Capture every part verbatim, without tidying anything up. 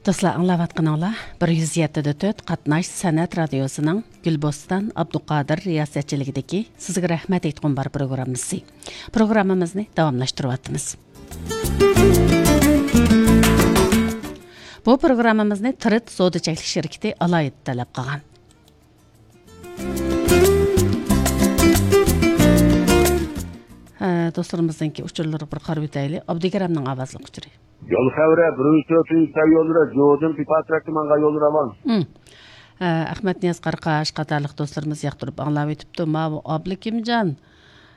دوستلار، ئاڭلاۋاتقىنىڭلار بىر يۈز يەتتە دە تۆت قاتناش سەنئەت رادىيوسىنىڭ گۈلبوستان ئابدۇقادىر رىياسەتچىلىكىدىكى سىزگە رەھمەت ئېيتقۇم بار پروگراممىسى. پروگراممىمىزنى داۋاملاشتۇرۇۋاتىمىز. بۇ پروگراممىمىزنى تىرىت سودا چەكلىك شىركىتى ئالاھىدە تەلەپ قىلغان. ھە، دوستلىرىمىزنىڭكى ئۇچۇرلىرىغا بىر قارىۋېتەيلى. ئابدۇكېرەمنىڭ ئاۋازلىق ئۇچۇرى. يول خەۋىرى، بىرىنچى تۆتىنچى سەي يوللىرى، جودىن پىپاتراكتىمانغا يول راۋان. ھە، ئەخمەتنىياز قاراقاش قاتارلىق دوستلىرىمىز ياقتۇرۇپ ئاڭلاۋېتىپتۇ. ماۋۇ ئابلىكىمجان،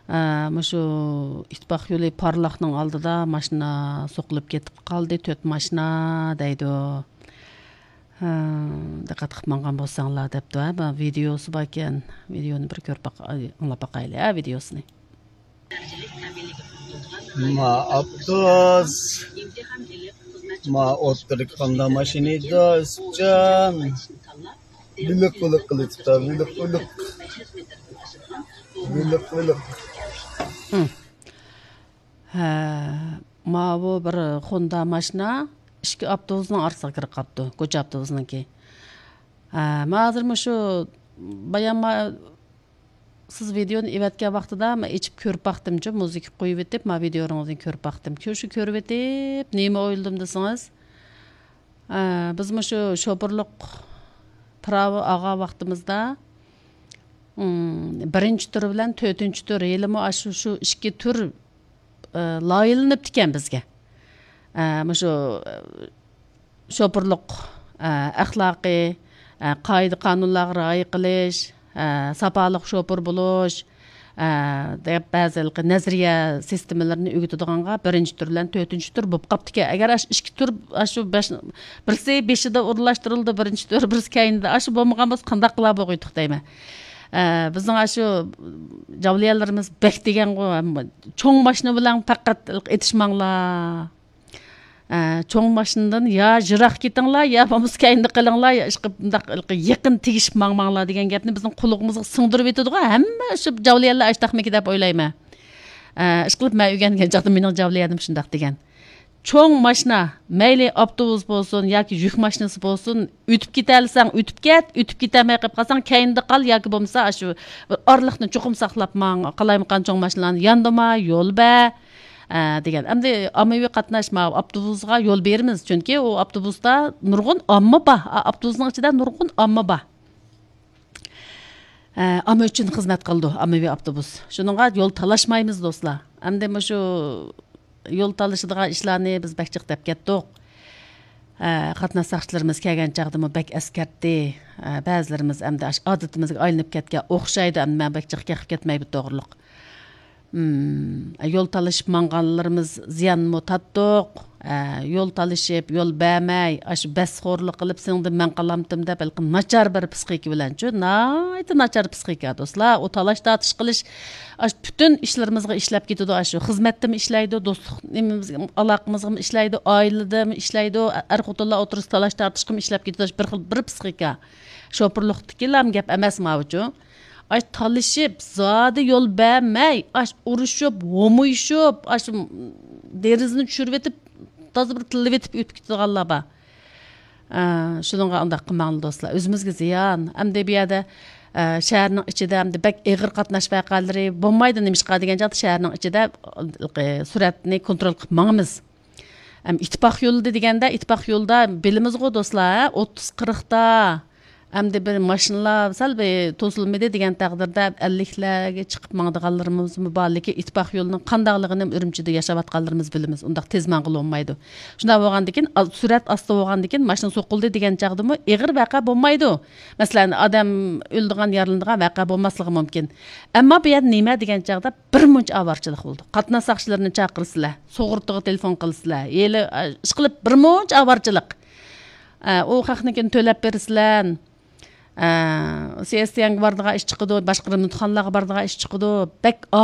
ھە، مۇشۇ ئىتتىپاق يولى پارلاقنىڭ ئالدىدا ماشىنا سوقۇلۇپ كېتىپ قالدى، تۆت ماشىنا دەيدۇ. ھە، دىققەت قىلىپ ماڭغان بولساڭلار دەپتۇ، ھە، بۇ ۋىدېئوسى باركەن. ۋىدېئونى بىر كۆرۈپ باق-، ئاي، ئاڭلاپ باقايلى، ھە، ۋىدېئوسىنى. ما ئاپتوبۇس، ما ئوتتۇرىدىكى قاندا ماشىنا ئىدى، ئىسىپجان. ۋىلىق ۋىلىق قىلىۋېتىپتۇ، ۋىلىق ۋىلىق. ۋىلىق ۋىلىق. ھە. ھە، ماۋۇ بىر خوندا ماشىنا ئىككى ئاپتوبۇسنىڭ ئارىسىغا كىرىپ قاپتۇ، كوچا ئاپتوبۇسنىڭكى. ھە، ما ھازىر مۇشۇ بايان ما-، سىز ۋىدېئونى ئېۋەتكەن ۋاقتىدا مەن ئېچىپ كۆرۈپ باقتىمچۇ، مۇزىكا قويۇۋېتىپ، ما ۋىدېئوڭىزنى كۆرۈپ باقتىم. شۇ، شۇ كۆرۈۋېتىپ، نېمە ئويلىدىم دېسىڭىز، ھە، بىز مۇشۇ شوپۇرلۇق پىراۋى ئالغان ۋاقتىمىزدا، ئىم، بىرىنچى تۈر بىلەن تۆتىنچى تۈر ھېلىمۇ ئاشۇ، شۇ ئىككى تۈر، ئە، لايىھىلىنىپتىكەن بىزگە. ئە، مۇشۇ، ئە، شوپۇرلۇق، ئە، ئەخلاقى، ئە، قائىدە-قانۇنلارغا رىئايە قىلىش، ئە، ساپالىق شوپۇر بولۇش، ئە، دەپ بەزى ھېلىقى نەزەرىيە سىستېمىلىرىنى ئۆگىتىدىغانغا بىرىنچى تۈر بىلەن تۆتىنچى تۈر بولۇپ قاپتىكەن. ئەگەر ئاشۇ ئىككى تۈر، ئاشۇ بەش، بىرسى بېشىدا ئورۇنلاشتۇرۇلدى، بىرىنچى تۈر، بىرسى كەينىدە، ئاشۇ بولمىغان بولسا قانداق قىلار بولغىيتتۇق دەيمەن. ئە، بىزنىڭ ئاشۇ جاۋلىيەنلىرىمىز بەك دېگەنغۇ، چوڭ ماشىنا بىلەن پەقەت ئېتىشماڭلار. ئە، چوڭ ماشىنىدىن يا يىراق كېتىڭلار، يا بولمىسا كەينىدە قېلىڭلار، يا ئىشقىلىپ مۇنداق يېقىن تېگىشىپ ماڭماڭلار دېگەن گەپنى بىزنىڭ قۇلىقىمىزغا سىڭدۈرۈۋېتىدىغۇ ھەممە شۇ جاۋلىيەنلەر ئاشتاقمىكى دەپ ئويلايمەن. ئە، ئىشقىلىپ مەن ئۆگەنگەن چاغدا مېنىڭ جاۋلىيەنىم شۇنداق دېگەن. چوڭ ماشىنا، مەيلى ئاپتوبۇس بولسۇن ياكى يۈك ماشىنىسى بولسۇن، ئۆتۈپ كېتەلىسەڭ ئۆتۈپ كەت، ئۆتۈپ كېتەلمەي قېلىپ قالساڭ كەينىدە قال ياكى بولمىسا ئاشۇ بىر ئارىلىقنى چوقۇم ساقلاپ ماڭ، قالايمىقان چوڭ ماشىنىلارنى ياندۇرما، يول بەر، ئە، دېگەن. ئەمدى ئاممىۋى قاتناش ماۋۇ ئاپتوبۇسقا يول بېرىمىز، چۈنكى ئۇ ئاپتوبۇستا نۇرغۇن ئامما بار، ئا، ئاپتوبۇسنىڭ ئىچىدە نۇرغۇن ئامما بار. ئە، ئامما ئۈچۈن خىزمەت قىلىدۇ ئاممىۋى ئاپتوبۇس. شۇنىڭغا يول تالاشمايمىز، دوستلار. ئەمدى مۇشۇ يول تالىشىدىغان ئىشلارنى بىز بەك جىق دەپ كەتتۇق. ئە، قاتناش ساقچىلىرىمىز كەلگەن چاغدىمۇ بەك ئەسكەرتتى. ئە، بەزىلىرىمىز ئەمدى ئاش-، ئادىتىمىزگە ئايلىنىپ كەتكەن ئوخشايدۇ، ئەمدى مەن بەك جىق قېقىپ كەتمەي بۇ توغرىلىق. مم، يول تالىشىپ ماڭغانلىرىمىز زىيانمۇ تارتتۇق. ئە، يول تالىشىپ، يول بەرمەي، ئاشۇ بەسخورلۇق قىلىپ، سېنىڭدىن مەن قالامتىم دەپ، ھېلىقى ناچار بىر پىسخىكا بىلەنچۇ، ناھايىتى ناچار پىسخىكا، دوستلار. ئۇ تالاش-تارتىش قىلىش، ئاشۇ پۈتۈن ئىشلىرىمىزغا ئىشلەپ كېتىدۇ. ئاشۇ خىزمەتتىمۇ ئىشلەيدۇ، دوستلۇق نېمىمىزگە، ئالاقىمىزغىمۇ ئىشلەيدۇ، ئائىلىدىمۇ ئىشلەيدۇ، ئەر-خوتۇنلار ئوتتۇرىسىدا تالاش-تارتىشقىمۇ ئىشلەپ كېتىدۇ. بىر خىل، بىر پىسخىكا. شوپۇرلۇقتىكىلا گەپ ئەمەس ماۋۇچۇ. ئاش تالىشىپ، زادى يول بەرمەي، ئاش ئۇرۇشۇپ، ھومۇيۇشۇپ، ئاش دېرىزىنى چۈشۈرۈۋېتىپ، تازا بىر تىللىۋېتىپ ئۆتۈپ كېتىدىغانلار بار. ئە، شۇنىڭغا ئۇنداق قىلماڭلار، دوستلار. ئۆزىمىزگە زىيان. ئەمدى بۇ يەردە، ئە، شەھەرنىڭ ئىچىدە ئەمدى بەك ئېغىر قاتناش ۋەقەلىرى بولمايدۇ. نېمىشقا دېگەن چاغدا شەھەرنىڭ ئىچىدە، ئە، سۈرئەتنى كونترول قىلىپ ماڭىمىز. ئەم، ئىتتىپاق يولىدا دېگەندە، ئىتتىپاق يولىدا بىلىمىزغۇ، دوستلار، ھە؟ ئوتتۇز، قىرىقتا. ئەمدى بىر ماشىنىلار سەل بىر توسۇلمىدى دېگەن تەقدىردە، ئەللىكلەرگە چىقىپ ماڭىدىغانلىرىمىزمۇ بار، لېكىن ئىتتىپاق يولىنىڭ قانداقلىقىنى ئۈرۈمچىدە ياشاۋاتقانلىرىمىز بىلىمىز. ئۇنداق تېز ماڭغىلى بولمايدۇ. شۇنداق بولغاندىكىن، ئا-، سۈرئەت ئاستا بولغاندىكىن، ماشىنا سوقۇلدى دېگەن چاغدىمۇ ئېغىر ۋەقە بولمايدۇ. مەسىلەن، ئادەم ئۆلىدىغان، يارىلىنىدىغان ۋەقە بولماسلىقى مۇمكىن. ئەمما بۇ يەردە نېمە دېگەن چاغدا، بىر مۇنچە ئاۋارىچىلىك بولدى. قاتناش ساقچىلىرىنى چاقىرىسىلەر، سۇغۇرتىغا تېلېفون قىلىسىلەر. ھېلى، ئە، ئىشقىلىپ بىر مۇنچە ئاۋارىچىلىك. ئە، ئۇ خەقنىڭكىنى تۆلەپ بېرىسىلەر. ئە، سىئېستيەنگە بارىدىغان ئىش چىقىدۇ، باشقا رېمونتخانىلارغا بارىدىغان ئىش چىقىدۇ. بەك